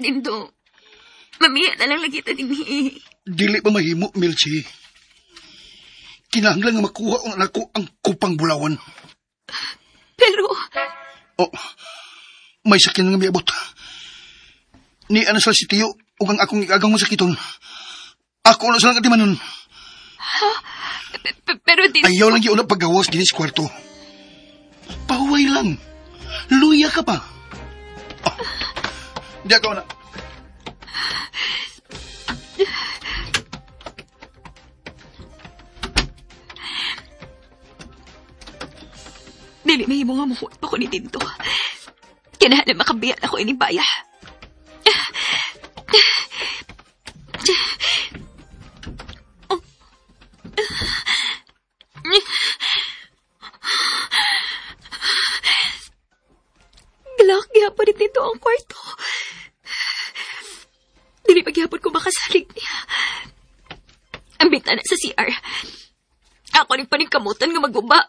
Dindo, mamiya na lang lagi ta dinhi. Dili pa mahimo, Milchi. Kinahanglan nga makuha ang anak ko ang kupang bulawan. Pero, Oh, may sakyan nga miabot. Ni ano sa si Tiyo ug ang akong igagang masakiton. Ako na silang atimanon. Pero Dindo. Ayaw lang yun ang paggawas din sa kwarto. Pahuway lang. Luya ka pa. Oh, di ako na. Dili mahimo nga muhuot pa ko ni Dindo. Kinahanglan makabiyan ako ini baya. Glock, gihapon ni Dindo ang kwarto. Dili pa gihapon ko makasalig niya. Ang bintana sa CR. Ako ning paningkamutan nga maguba.